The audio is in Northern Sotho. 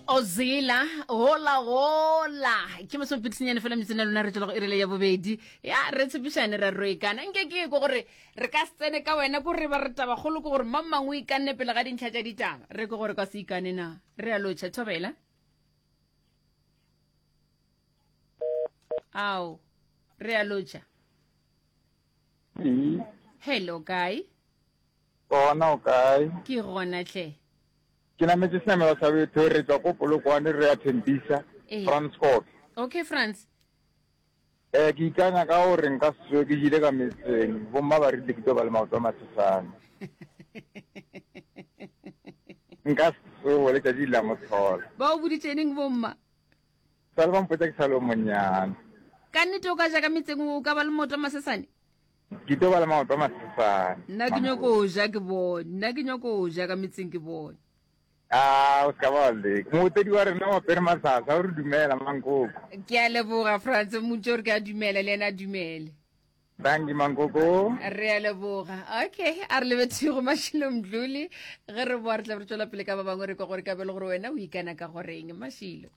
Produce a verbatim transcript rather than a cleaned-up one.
Ozila hola hola ke masomepedi senyane fela metseng ya lona re tšwela go irile ya bobedi ya re tshepišane ra roekana nke ke ko gore re ka se tsene ka wena ko re ba re tabakgolo ke gore mang mang o ikanne pele ga dintlha tša ditaba re ke gore ka se ikane na re a lotšha thobela ao re a lotšha hello kae Gona o kae? Ke gona hle. Ke nametše senamelwa sa betho re tšwa ko Polokwane re ya Tembisa, Ee. Frans Scott. Okay Frans. Eh ke ikanya ka gore nka se tsoge ke jile ka metseng, bomma ba rile ke tlo ba le maoto a masesane. Nka se tsoge letšatši la motlhola. Ba o boditše neng bomma? Sa le ba mpotša ke sa le o monnyane. Ka nnete o ka ja ka metseng o ka ba le maoto a masesane? Ke tlo ba le maoto a masesane. Nna ke nyoko ja ke bone. Nna ke nyoko ja ka metseng ke bone. A o se ka ba wa leka. Mootledi wa rena o apere masasa o re dumela Mankoko. Ke a leboga Frans, mmotše gore ke a dumela le yena a dumele. Dankie Mankoko. Re a leboga. Okay, a re lebetše go Mashilo Mdluli. Ge re boa re tla be re tšwela pele ka ba bangwe re kwa gore ka be le gore wena o ikana ka goreng Mashilo.